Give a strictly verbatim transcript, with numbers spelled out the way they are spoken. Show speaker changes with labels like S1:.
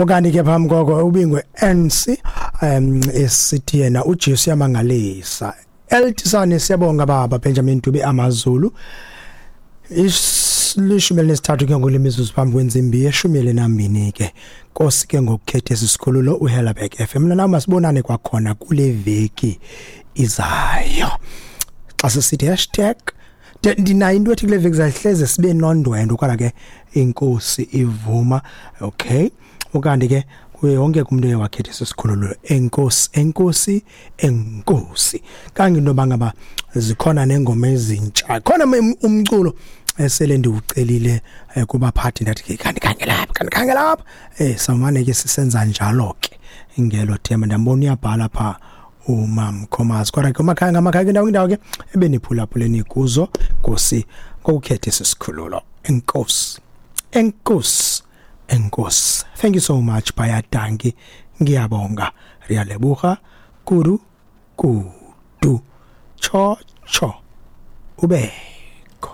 S1: Ukanti ke phambi koko ubingwe N C um esithi yena uJesu yamangalisa. Eltisane siyabonga baba Benjamin Dube amaZulu. Ishumi elinesithathu ke ngolimizuzu phambi kwentsimbi yeshumi elinambini ke. Nkosi ke ngokukhetha esikhululo uHellerberg F M. Mina masibonane kwakhona kule veki izayo. Xa sisithi hashtag ndinayo into ethi kule veki zahleze sibe nondwendwe kodwa ke inkosi ivuma. Okay, ukanti ke kuye wonke umuntu oye wakhetha esikhululo enkosi enkosi enkosi. Kanginto bangaba zikhona nengoma ezintsha, khona umculo esele ndiwucelile kubaphathi ndathi ke kanti khangela apha kanti khangela apha eh samane ke sisenza njalo ke ngelo thema. Ndambona uyabhala pha uMamkhomazi. Kodwa ke umakhaya ngamakhaya ke ndawo indawo ke ebeniphulaphuleni kuzo Nkosi ngokukhetha esikhululo. Enkosi enkosi enkosi. Thank you so much bayadanki, ngiyabonga, riyalebuha kudu kudu cho cho ube.